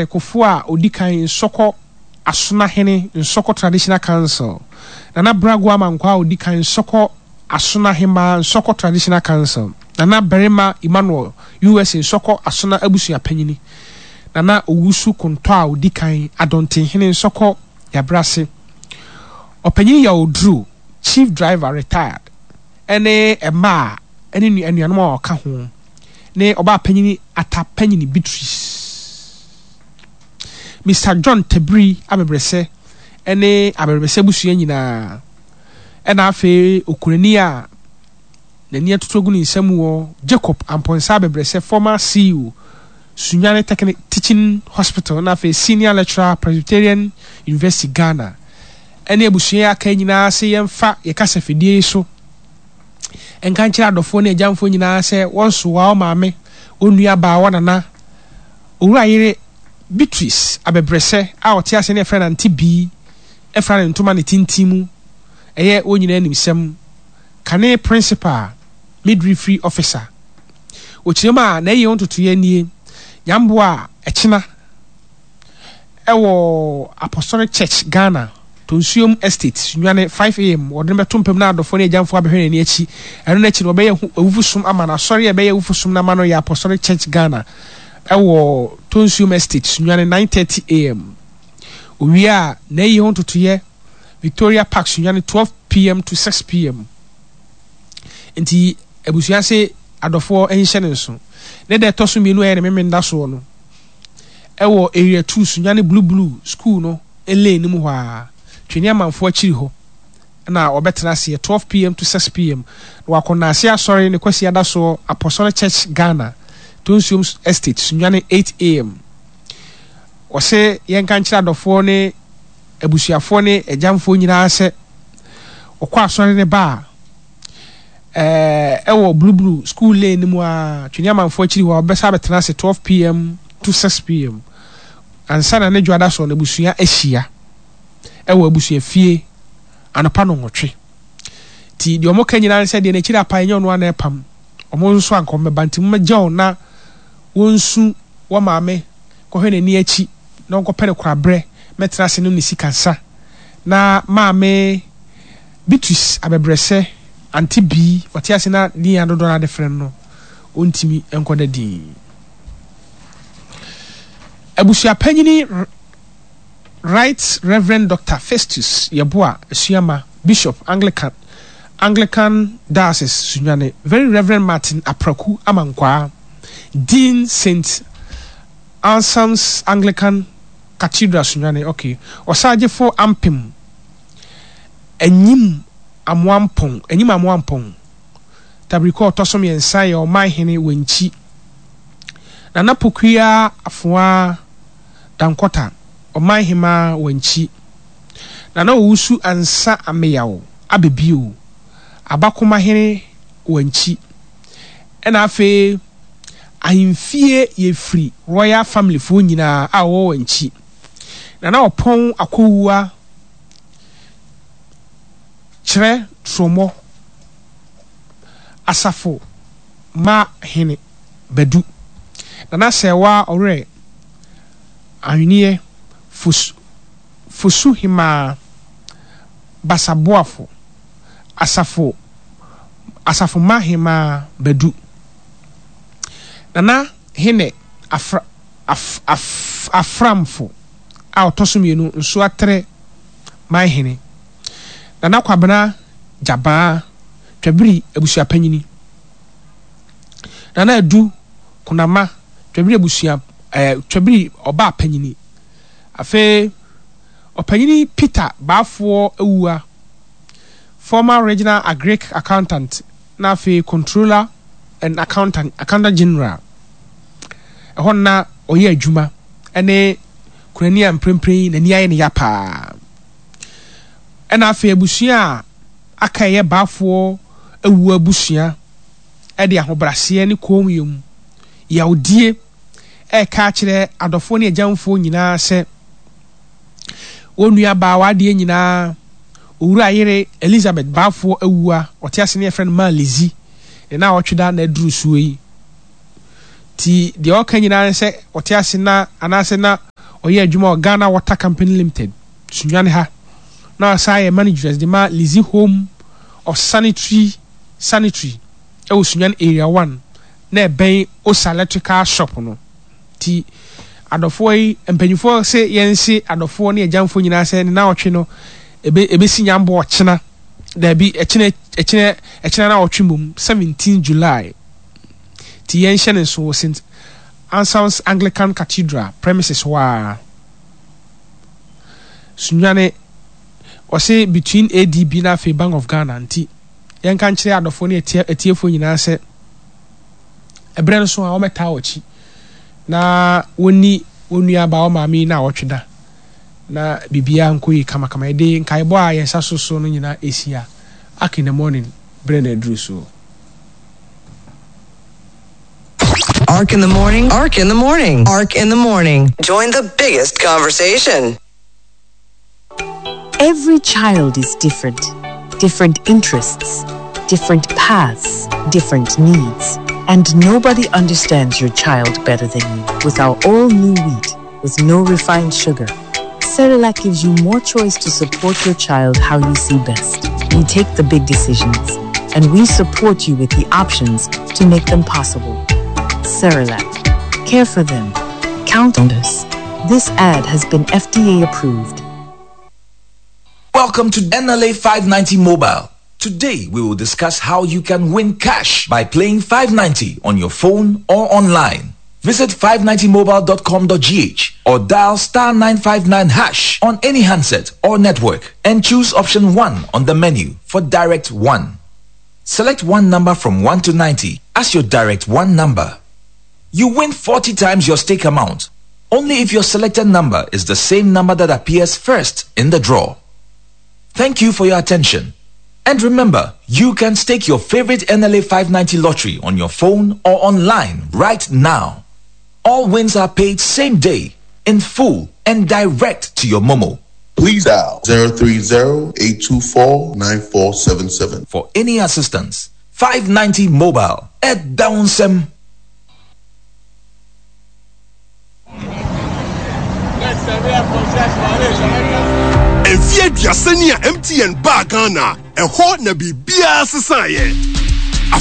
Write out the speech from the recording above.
Kofoɔ a ɔdi kan Nsɔkɔ Asona Hene Nsɔkɔ Traditional Council, Nana Brago Amankwaa a ɔdi kan Nsɔkɔ Asona Hemaa Nsɔkɔ Traditional Council, Nana Barima Emmanuel USA Nsɔkɔ Asona Abusua Panyini, Nana Owusu Kontɔ a ɔdi kan Adɔntenhene Nsɔkɔ Yabrase, Ɔpanyin Yaw Oduro, Chief Driver Retired, ne mma a ne anuanom a wɔka ho ne ɔbaa panyin Atta Panyini Beatrice, Mister John Tabiri Abɛbrɛsɛ ne Abɛbrɛsɛ abusua nyinaa, ɛna afei okunani a n'ani atutu agu ne nsam wɔ Jacob Amponsah Abɛbrɛsɛ, former CEO, Sunyani Technic Teaching Hospital na afei Senior Lecturer, Presbyterian University, Ghana, ɛne abusua yi aka nyinaa se yɛmfa yɛ kasafidie yi so nka nkyerɛ adɔfoɔ ne agyamfoɔ nyinaa sɛ wɔnsoa wo maame, wo nua baa, wo nana, Owura yere Beatrice Abɛbrɛsɛ a ɔte ase ne yɛfrɛ no Auntie Bee afira ne ntoma ne tintin mu, ɛyɛ wɔn nyinaa animsɛm. Kane Principal, Midwifery Officer. Ɔkyerɛ mu a, n'ayie ho ntotoeɛ nie, Nyamboa a ɛkyena wɔ Apostolic Church Ghana, Tonsuom Estate, Sunyani, 5 am, wɔde no bɛto mpam na adɔfoɔ ne agyamfoɔ abɛhwɛ n'ani akyi. Ɛno no akyi no, wɔbɛyɛ ho awufosom ama no. Asɔre a ɛbɛyɛ awufosom no ama no yɛ Apostolic Church Ghana wɔ Tonsuom Estate, Sunyani, 9:30 am. Owie a, n'ayie ho ntotoeɛ, Victoria Park, Sunyani, 12 pm to 6 pm. Nti abusua se adɔfoɔ nhyɛ no nso. Ne da ɛtɔ so mmienu a ɛyɛ ne memenda soɔ no, ɛwɔ Area 2 Sunyani Blue Blue School no lane no mu hɔ ara, Twene Amanfoɔ akyiri hɔ na wɔbɛtena aseɛ 12 pm to 6 pm na wakɔ Naase Asɔre ne Kwasiada soɔ Apostolic Church Ghana, Tonsuom Estate, Sunyani 8 am. Wɔse yɛnka nkyerɛ adɔfoɔ ne abusuafoɔ ne agyamfoɔ nyinaa sɛ wɔkɔ asɔre no ba a, ɛwɔ Blue Blue School Lane no mu ara, Twene Amanfoɔ akyiri hɔ a, wɔbɛsan abɛtena ase 12 pm to 6 pm ansa na ne dwoada soɔ no abusua ahyia ɛwɔ abusuafie anɔpa nnɔnwɔtwe. Nti deɛ wɔka nyinaa ne sɛ deɛ n'akyiri apae nyɛ ɔno ara na ɛpam, wɔn nso anka wɔmmɛba nti mommɛgya wɔn na wɔnsu wɔn maame kɔhwɛ n'ani akyi na ɔnkɔpɛ no koraberɛ mɛtena ase nom ne sika nsa na maame Beatrice abɛbrɛsɛ Auntie Bee ɔte ase na din a dodoɔ no ara de frɛ no no ɔntumi nkɔda din. Abusuapanyini Right Reverend Doctor Festus Yeboah Asuama, Bishop, Anglican Anglican Diocese Sunyani, Very Reverend Martin Apraku Amankwaa, Dean Saint Anselm's Anglican Cathedral Sunyani, ok, Ɔsaagyefo Ampem Anyim Amoampong, Anyim Amoampong, Tabirikɔ a ɔtɔ so mmiɛnsa yɛ Ɔmanhene Wankyi, Nana Pokuaa Afoaa Dankɔta, Ɔmanhemaa Wankyi, Nana Owusu Ansa Ameyaw Abebio, Abakomahene Wankyi, ɛna afei Ahemfie Yefri Royal Family foɔ nyinaa a wɔwɔ Wankyi, Nana Ɔpɔn Akowua Kyerɛ Tromɔ, Asafo Ma Hene Badu, Nana Sɛɛwaa Ɔwerɛ Ahweneɛ Fosu Fosu Hemaa Basaboafo, Asafo Asafo Ma Hemaa Badu, Nana Hene Afra Af Af Aframfo a ɔtɔ so mmienu Nsoatre Manhene, Nana Kwabena Gyabaa Twabiri abusuapanyini, Nana Adu Konama Twabiri abusua eh, Twabiri ɔbaa panyini. Afei Ɔpanyini Peter Baafoɔ Awuah, former Regional Agric Accountant na afei Controller and Accountant, Accountant General. Ɛhɔ no na ɔyɛ adwuma ne kunani a mprempren yi n'ani ayɛ ne ya paa. Ɛna afei abusua a aka ɛyɛ Baafoɔ Awuah abusua de ahobraseɛ ne kommyɛ mu yawdie reka akyerɛ adɔfoɔ ne agyamfoɔ nyinaa sɛ wɔn nua baa w'adeɛ nyinaa Owura yere Elizabeth Baafoɔ Awuah, ɔte ase ne yɛfrɛ no Maa Lizzy, ne naawɔtwe da na aduru soɔ yi. Nti deɛ ɔka nyinaa ne sɛ ɔte ase na anaasɛ na ɔyɛ adwuma wɔ Ghana Water Company Limited, Sunyani ha. Na ɔsan yɛ manageress de ma Lizzie Home of Sanitary Sanitary wɔ Sunyani Area One na ɛbɛn Osa Electrical Shop no. Nti adɔfoɔ yi, mpanyinfoɔ se yɛnse adɔfoɔ ne agyamfoɔ nyinaa sɛ ne naawɔtwe no ebe ebesi nyambɔ ɔkyena, daabi ɛkyena ɛkyena ɛkyena naawɔtwe mmom, 17 July. Nti yɛnhyɛ no nso wɔ St. Anselm's Anglican Cathedral premises hɔ ara. Sunyani, ɔse between ADB na afei Bank of Ghana nti yɛnka nkyerɛ adɔfoɔ ne atiefoɔ nyinaa sɛ ɛberɛ no so a wɔmmɛtaa wɔn akyi na wɔnni wɔn nuabaa wɔn maame yi naawɔtwe da na biribiara nkɔ yie kamakama. Yɛde nkaebɔ a yɛn nsa so so no nyinaa ɛsi a, Ark in the morning berɛ na aduru soɔ. Ark in the morning. Ark in the morning. Ark in the morning. Join the biggest conversation. Every child is different. Different interests, different paths, different needs. And nobody understands your child better than you. With our all new wheat, with no refined sugar, Cerelac gives you more choice to support your child how you see best. We take the big decisions, and we support you with the options to make them possible. Cerelac. Care for them. Count on us. This ad has been FDA approved. Welcome to NLA 590 Mobile. Today we will discuss how you can win cash by playing 590 on your phone or online. Visit 590mobile.com.gh or dial star 959 hash on any handset or network and choose option 1 on the menu for direct 1. Select one number from 1 to 90 as your direct 1 number. You win 40 times your stake amount only if your selected number is the same number that appears first in the draw. Thank you for your attention. And remember, you can stake your favorite NLA 590 lottery on your phone or online right now. All wins are paid same day, in full, and direct to your Momo. Please dial 030-824-9477. For any assistance, 590 Mobile at Downsem. Mfeɛ aduasa ni a MTN baa Ghana, ɛhɔ na biribiara sesaeɛ.